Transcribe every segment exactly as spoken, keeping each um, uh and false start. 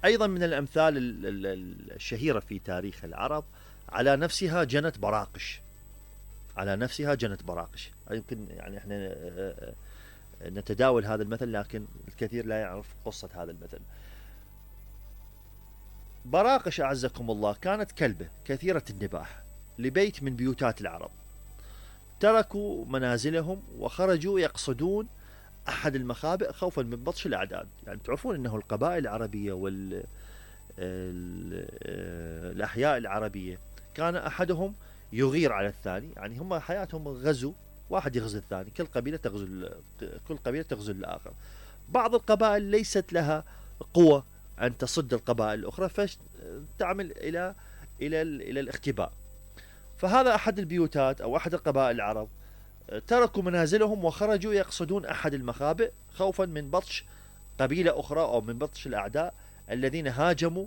أيضا من الأمثال الشهيرة في تاريخ العرب: على نفسها جنت براقش. على نفسها جنت براقش. يمكن يعني احنا نتداول هذا المثل، لكن الكثير لا يعرف قصة هذا المثل. براقش أعزكم الله كانت كلبة كثيرة النباح لبيت من بيوتات العرب. تركوا منازلهم وخرجوا يقصدون أحد المخابئ خوفا من بطش الأعداء. يعني تعرفون أنه القبائل العربية والأحياء العربية كان أحدهم يغير على الثاني، يعني هم حياتهم غزو، واحد يغزو الثاني، كل قبيلة تغزو كل قبيلة تغزو الآخر. بعض القبائل ليست لها قوة أن تصد القبائل الأخرى، فتعمل إلى إلى إلى الاختباء. فهذا أحد البيوتات أو أحد القبائل العرب تركوا منازلهم وخرجوا يقصدون أحد المخابئ خوفا من بطش قبيلة أخرى أو من بطش الأعداء الذين هاجموا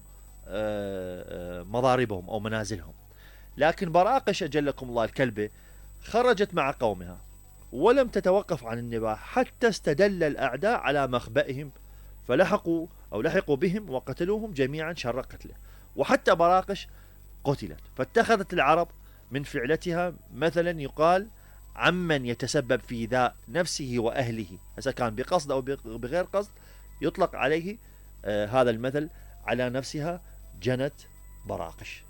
مضاربهم أو منازلهم. لكن براقش أجلكم الله الكلبة خرجت مع قومها ولم تتوقف عن النباح حتى استدل الأعداء على مخبئهم، فلحقوا أو لحقوا بهم وقتلوهم جميعا شر قتله، وحتى براقش قتلت. فاتخذت العرب من فعلتها مثلا يقال عمن يتسبب في ذا نفسه وأهله، إذا كان بقصد أو بغير قصد يطلق عليه آه هذا المثل: على نفسها جنت براقش.